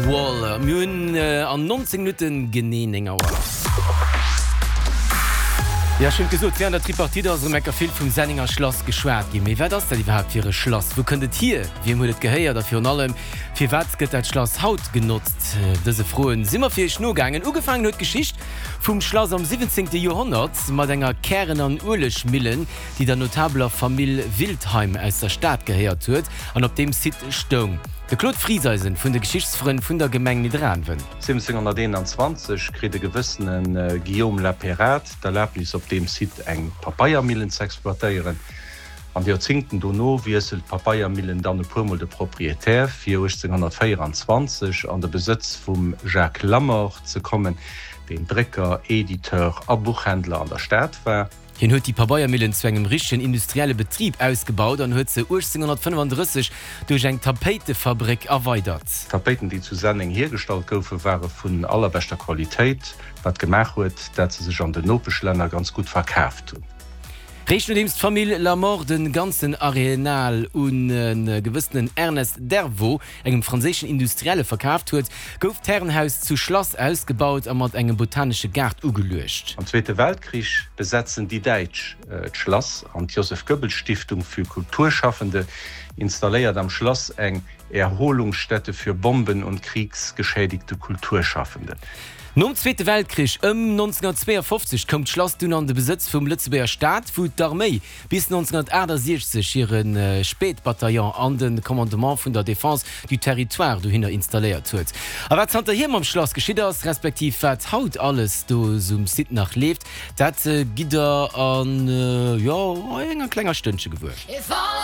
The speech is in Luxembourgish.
Wall. Mir hunn an 19 Minutten genee 9 Auer. Jo, ech hunn et gesot, wärend der Tripartite ass erëm enker vill vum Sennenger Schlass geschwat ginn. Mee wat ass dat iwwerhaapt fir e Schlass? Wou kënnt et hier? Wiem huet et gehéiert? A virun allem, firwat gëtt dat Schlass haut genotzt? Dëse Froen si mer fir iech nogaangen. Ugefaangen huet d'Geschicht vum Schlass am 17. Joerhonnert mat enger Kären an Uelegmillen, déi der notabeler Famill Wiltheim aus der Stad gehéiert huet an op deem Site stoung. De Claude Frieseisen vun de Geschichtsfrënn vun der Gemeng Nidderaanwen. 1721 kritt e gewëssene Guillaume Lapérade d'Erlabnis op deem Site eng Papeiermillen z'exploitéieren. An de Joerzingten dono wiesselt d'Papeiermillen dann e puermol de Proprietär, fir 1824 an de Besëtz vum Jacques Lamort ze kommen, deen Drécker, Editeur a Buchhändler an der Stad war. Hien huet déi Pabeiermillen zu engem richtegen industrielle Betrib ausgebaut an huet se 1835 duerch eng Tapéitefabréck erweidert. D'Tapéiten, déi zu Senneng hiergestallt goufen, ware vun allerbeschter Qualitéit, wat gemaach huet, dat se sech an den Nopeschlänner ganz gutt verkaaft hunn. Réischt nodeems d'Famill Lamort de ganzen Arenal un e gewëssenen Ernest Dervaux, engem franséischen Industrielle, verkaaft huet, gouf d'Härenhaus zu Schlass ausgebaut a mat engem botanesche Gaart ugeluecht. Am Zweete Weltkrich besetzen déi Däitsch d'Schlass an d'Joseph Goebbels Stiftung für Kulturschaffende installéiert am Schlass eng Erholungsstätte für Bomben und kriegsgeschädigte Kulturschaffende. Nom Zweete Weltkrich, ëm 1952, koum d'Schlass dunn an de Besëtz vum Lëtzebuerger Staat, wou d'Arméi bis 1968 hire Spätbataillon an de Commandement vun der Défense du Territoire dohinner installéiert huet. A wat zanterhier mam Schlass geschitt ass, respektiv wat haut alles do um Site nach leeft, dat gitt der an, jo, enger klenger Stënnche gewuer.